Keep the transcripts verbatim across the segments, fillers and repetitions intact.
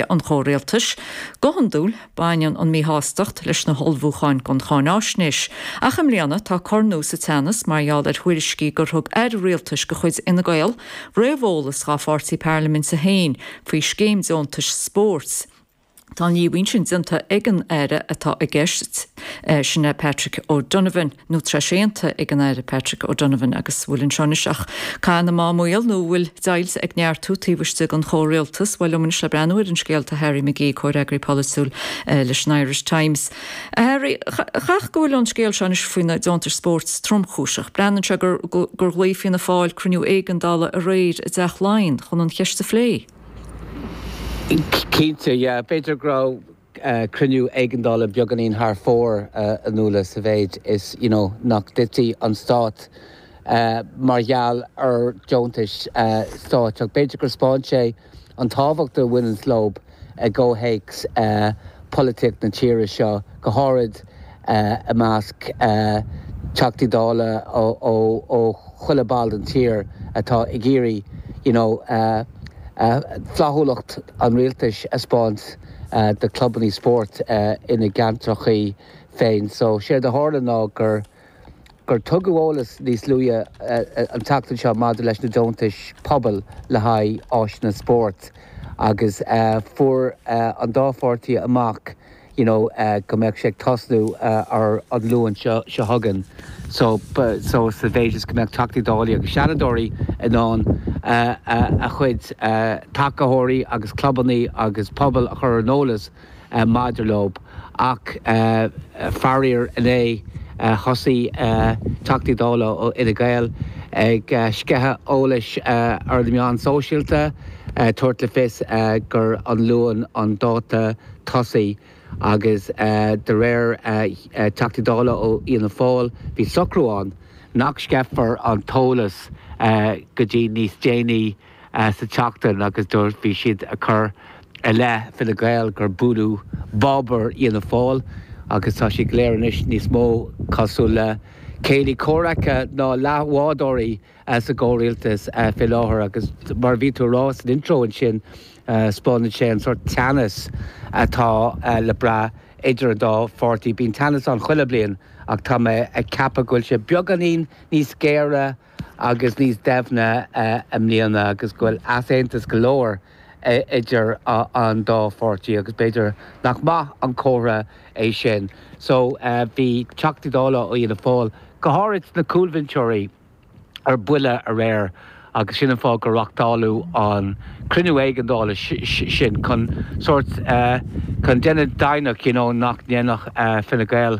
an chomhrialtais. Go hiondúil baineann an míshástacht leis na hullmhúcháin don cháinaisnéis. Ach i mbliana tá cor nua sa teannas mar gheall ar thuairiscí gur thug aire rialtais de chuid Fhine Gael réamheolas dá pháirtí parlaiminte féin faoi scéim deontais spóirt. Tá an líomhain sin déanta ag an aire atá i gceist eh, sin é Patrick O'Donovan nó tréséanta ag an aire Patrick O'Donovan agus bhfuil anseo ach cath na mámaíl nó bhfuil deighilt ag neartú taobh istigh den chomhrialtas bhuel liom anois le breathnú ar an scéal tá Harry McGee comhfhreagraí polaitiúil eh, leis an Irish Times. Harry chach go bhfuil an scéal seo anois faoi na deontais spóirt tromchúiseach. Breathnaíonn sé gur gur ghlaoigh Fianna Fáil cruinniú éigeandála aréir i dTeach Laighean chun an cheist a phlé. Cinnte b'fhéidir go raibh uh, cruinniú éigeandála beagáinín thar fóir uh, anúla sa mhéid is you know, nach dtitfidh an stát uh, mar gheall ar deontais uh, stáit ach b'fhéidir gur thaispeáin sé an tábhacht a bhaineann leo i gcomhthéacs uh, polaitíocht na tíre seo go háirid uh, i measc uh, Teachtaí Dála ó chuile ball den tír atá ag iarraidh you know, uh, uh, flaithiúlacht an rialtais a thaispeáint uh, do clubanna spóirt uh, ina gceantracha féin. So sé a tharla ná gur gur tugadh eolas níos luaithe uh, an tseachtain seo maidir leis na deontais pobail le haghaidh áiseanna spóirt agus uh, fuair uh, an dá pháirtí amach you know, uh, go mbeadh sé tosnú uh, ar an Luan seo seo chugainn. So, so sa mhéid is go mbeadh Teachtaí Dála agus Seanadóirí in ann uh, uh, a chuid uh, tacaitheoirí agus clubanna agus pobal a chur ar an eolas uh, maidir leo ach uh, faraor inné uh, thosaigh uh, Teachtaí Dála ó Fhine Gael ag uh, sceitheadh eolais uh, ar na meáin sóisialta uh, tabhairt le fios uh, gur an Luan an dáta tosaigh agus uh, de réir uh, uh, Teachtaí Dála ó Fhianna Fáil bhí socrú ann nach sceithfear an t-eolas uh, go dtí níos déanaí uh, sa tseachtain agus dúirt bhí siad ag cur i leith Fine Gael gur bualadh bob ar Fhianna Fáil agus tá sé go léir anois níos mó cosúil le céilí comhraic ná leathbhádóirí sa gcomhrialtas faoi láthair agus mar bhí tú ag rá san intro ansin spáineann sé an sórt teannas atá le brath idir an dá pháirtí bíonn teannas ann chuile bliain ach tá mé ag ceapadh go bhfuil sé beagáinín níos géire agus níos doimhne i mbliana agus go bhfuil easaontas go leor idir an dá pháirtí agus b'fhéidir nach maith an comhartha é sin. So bhí Teachtaí Dála ó Fhianna Fáil go háirid na cúlbhinseoirí ar buile aréir agus sin an fáth gur reáchtáladh an cruinniú éigeandála sin chun sórt chun déanamh deimhneach you know, nach ndéanfadh Fine Gael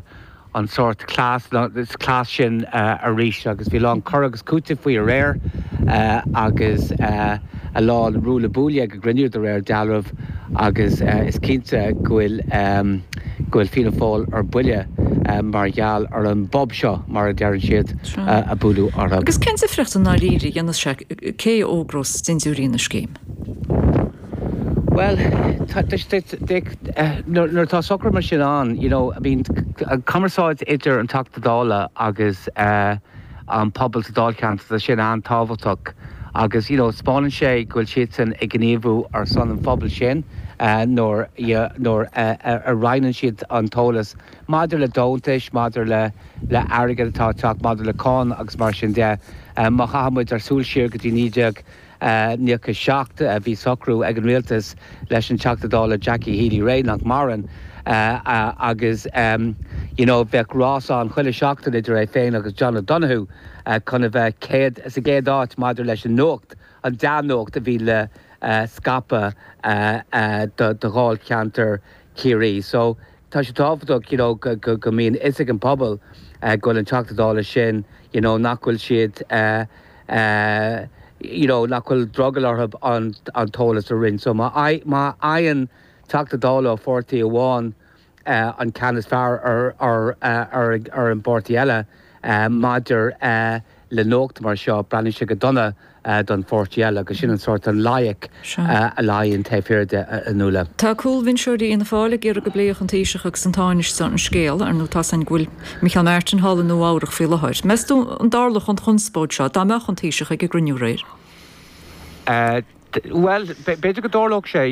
an sórt cleas cleas sin arís agus bhí a lán cur agus cúiteamh faoi aréir agus a lán ruaille buaille ag an gcruinniú de réir dealraimh agus is cinnte go bhfuil go bhfuil Fianna Fáil ar buile mar gheall ar an bob seo mar a deireann siad a bualadh orthu. Agus cén difríocht i ndáiríre a dhéanfas sé cé a fhógrós dintiúirí na scéime? Well nuair tá socrú mar sin ann, you know, I mean, cumarsáid idir an Teachta Dála agus uh, an pobal sa dáilcheantar sin an-tábhachtach agus you know, spáineann sé go bhfuil siadsan ag gníomhú ar son an phobail sin uh, nuair nuair uh, a roinneann siad an t-eolas maidir le deontais, maidir le le airgead atá teacht maidir le cáin agus mar sin de uh, má chaithimid ár súil siar go dtí naoi déag nócha seacht bhí socrú ag an rialtas leis an Teachta Dála Jackie Healy-Rae nach maireann uh, uh, agus um, you know, bheadh rás ann chuile seachtain idir é féin agus John O'Donoghue uh, chun a bheith céad sa gcéad áit maidir leis an nuacht an dea-nuacht a bhí le uh, scaipeadh uh, uh, do, do dháilcheantar Chiarraí. So tá sé tábhachtach you know, go, go, go mbíonn fhios ag an pobal uh, go bhfuil an Teachta Dála sin you know, nach bhfuil siad uh, uh, you know, nach bhfuil drogall orthu an, an t-eolas a roinnt. So má má fhaigheann Teachta Dála ó pháirtí amháin uh, an ceann is fearr ar, ar, uh, ar, ar an bpáirtí eile uh, maidir uh, le nuacht mar seo breathnaíonn sé go dona uh, don pháirtí eile agus sin an sórt an loighic uh, a luíonn taobh thiar de a Nuala. Tá cúlbhinseoirí Fhianna Fáil ag iarraidh go bpléifeadh an Taoiseach agus an Tánaiste an scéal ar nó tá an bhfuil Micheál Martin thall i Nua-Eabhrac faoi láthair. Meas tú an dtarlódh an chonspóid seo dá mbeadh an Taoiseach ag an gcruinniú aréir? Uh, Well, b'fhéidir go dtarlódh sé.